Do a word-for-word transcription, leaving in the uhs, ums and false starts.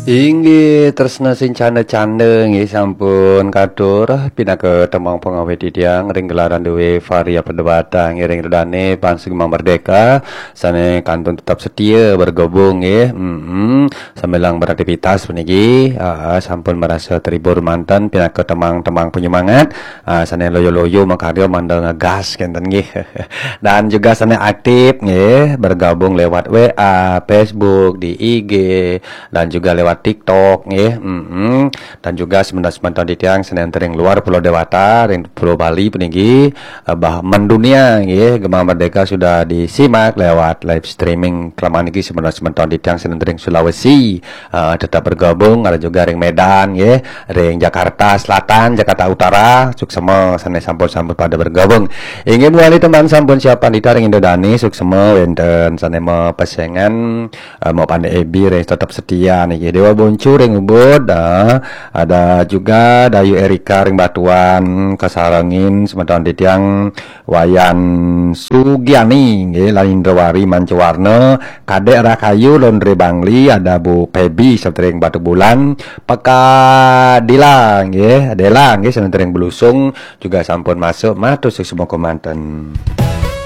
Inggih tresna sing canda-canda nggih sampun katur pinaka tembang pangawit titiang ring gelaran duwe Varia Perdebata nggih ring Ida Dane Pansu Gema Merdeka sane kantun tetap setia bergabung nggih. Mm-mm. Sambilang beraktivitas puniki, ah, sampun merasa terhibur manten pinaka tembang-tembang penyemangat, ah, sane loyo-loyo makarya mangda ngegas kenten nggih. Dan juga sane aktif nggih bergabung lewat W A, Facebook, di I G, dan juga lewat TikTok nggih. Mm-mm. Dan juga semeton-semeton titiang sane ring luar Pulau Dewata, ring Pulau Bali puniki, eh, bah mendunia nggih, Gema Merdeka sudah disimak lewat live streaming. Kelamaan niki semeton-semeton titiang sane ring Sulawesi, eh, tetap bergabung, ada juga ring Medan nggih, ring Jakarta Selatan, Jakarta Utara, suksema sane sampun-sampun pada bergabung. Inggih mawali teman sampun siap pandita ring Ida Dane, suksema wenten sane mapesengan, eh, mau pandai ebi ring tetap setia niki. Dewa Boncu ring Ubud, ah, ada juga Dayu Erika ring Batuan, kasarengin semeton titiang Wayan Sugiani nggih, lan Indrawari Mancawarna, Kadek Rakayu Londre Bangli, ada Bu Pebi sentering Batu Bulan, Peka Dila nggih, Dela nggih sentering Belusung juga sampun masuk, matur suksma manten.